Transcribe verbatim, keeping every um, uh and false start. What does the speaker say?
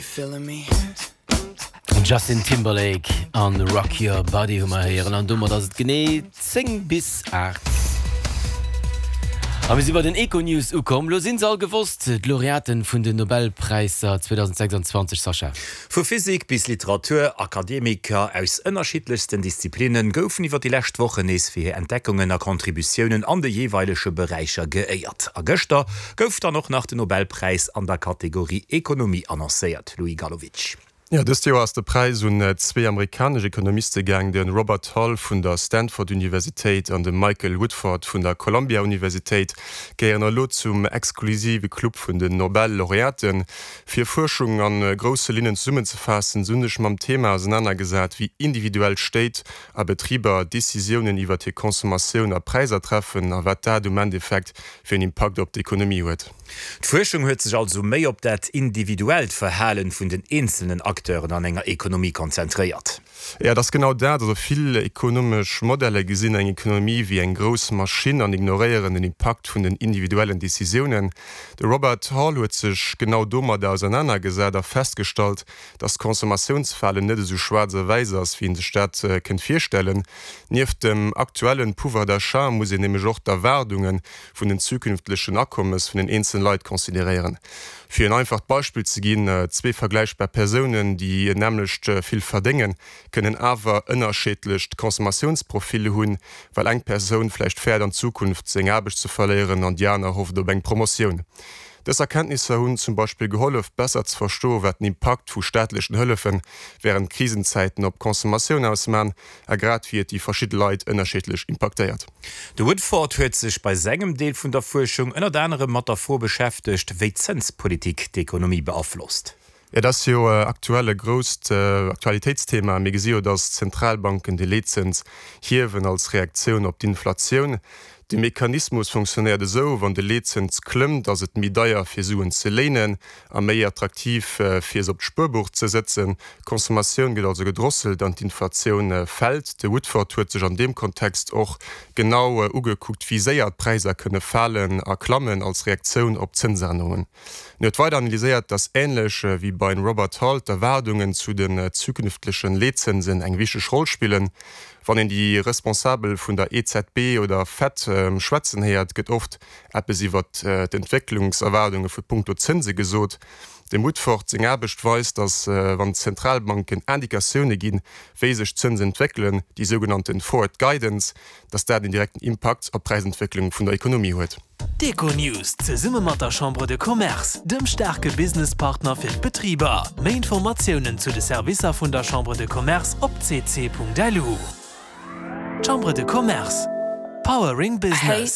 You feeling me? Justin Timberlake an Rock Your Body hu mer héieren an domat ass et genee zéng bis aacht. A mir si bei den Econews ukomm. Lo sinn se all gewosst, d'Laureaten vun den Nobelpräisser zweedausendsechsanzwanzeg, Sascha. Vu Physik bis Literatur, Akademiker aus ënnerschiddlechsten Disziplinne goufen iwwer déi lescht Wochen nees fir hir Entdeckungen a Contributiounen an de jeeweilege Beräicher geéiert. A gëschter gouf dann och nach den Nobelpräis an der Kategorie Ekonomie annoncéiert, Louis Galowitsch. Jo, dëst Joer ass de Präis un zwee amerikanesch Ekonomiste gaang, de Robert Hull vun der Stanford Universitéit an de Michael Woodford vun der Columbia Universitéit gehéieren elo zum exklusive Club vun den Nobel-Laureaten. Fir Fuerschung a grousse Linnen zesummenzefaassen, si hunn sech mam Thema ausenanergesat, wéi individuell Stéit a Betriber Decisiounen iwwert hir Consommatioun a Präisser treffen a wat dat um Endeffekt fir en Impakt op d'Ekonomie huet. D'Fuerschung huet sech also méi op dat individuellt Verhalen vun den eenzelnen Acteuren an enger Ekonomie konzentréiert. Jo, et ass genau dat. Also vill ekonomesch Modeller gesinn eng Ekonomie wéi eng grouss Maschinn an ignoréieren den Impakt vun den individuellen Decisiounen. De Robert Hall huet sech genau domadder ausernanergesat a festgestallt, dass d'Consommatiounsverhalen net esou schwaarz a wäiss ass, wéi een sech dat kënnt virstellen. Nieft dem aktuellen Pouvoir d'achat muss een nämlech och d'Erwaardunge vun den zukünftlechen Akommes vun den eenzelen Leit consideréieren. Fir en einfacht Beispill ze ginn, Zwee vergläichbar Persounen, déi nämmlecht vill verdéngen, kënnen awer ënnerscheedlecht Consommatiounsprofile hunn, well eng Persoun vläicht fäert an Zukunft seng Aarbecht ze verléieren an déi aner hofft op eng Promotioun. Dës Erkenntnisser hunn zum Beispill gehollef, besser ze verstoen, wat den Impakt vu staatlechen Hëllefe wärend Krisenzäiten op d'Consommatioun ausmaan a grad wéi et déi verschidde Leit ënnerscheedlech impaktéiert. De Woodford huet sech bei sengem Deel vun der Fuerschung ënnert anerem mat der Fro beschäftegt, wéi d'Zënspolitik d'Ekonomie beaflosst. Et ass jo aktuell e grousst Aktualitéitsthema. Mir gesi jo, datt d'Zentralbanken de Leetzëns hiewen als Reaktioun op d'Inflatioun. De Mechanismus funktionéiert esou, Wann de Leetzëns klëmmt, ass et méi deier fir Suen ze léinen a méi attraktiv fir se op d'Spuerbuch ze sëtzen. D'Consommatioun gëtt also gedrosselt an d'Inflatioun fält. De Woodford huet sech an deem Kontext och genau ugekuckt, wéi séier d'Präisser kënne falen a klammen als Reaktioun op Zënsännerungen. En huet weider analyséiert, datt änlech wéi beim Robert Hall d'Erwaardungen zu den zukünftleche Leetzënsen eng wichteg Roll spillen. Wann een déi Responsabel vun der E Z B oder Fed schwätzen héiert, gëtt oft eppes iwwer d'Entwécklungserwaardunge vu punkto Zënse gesot. Dem Woodford seng Aarbecht weist, datt wann d'Zentralbanken Indikatioune ginn, wéi sech d'Zënsen entwéckelen, déi sougenannte Forward Guidance, datt dat en direkten Impakt op d'Präisentwécklung vun der Ekonomie huet. D'Econews zesumme mat der Chambre de Commerce, dem staarke Businesspartner fir d'Betriber. Méi Informatiounen zu de Servicer vun der Chambre de Commerce op c c punkt l u. Chambre de Commerce, powering business.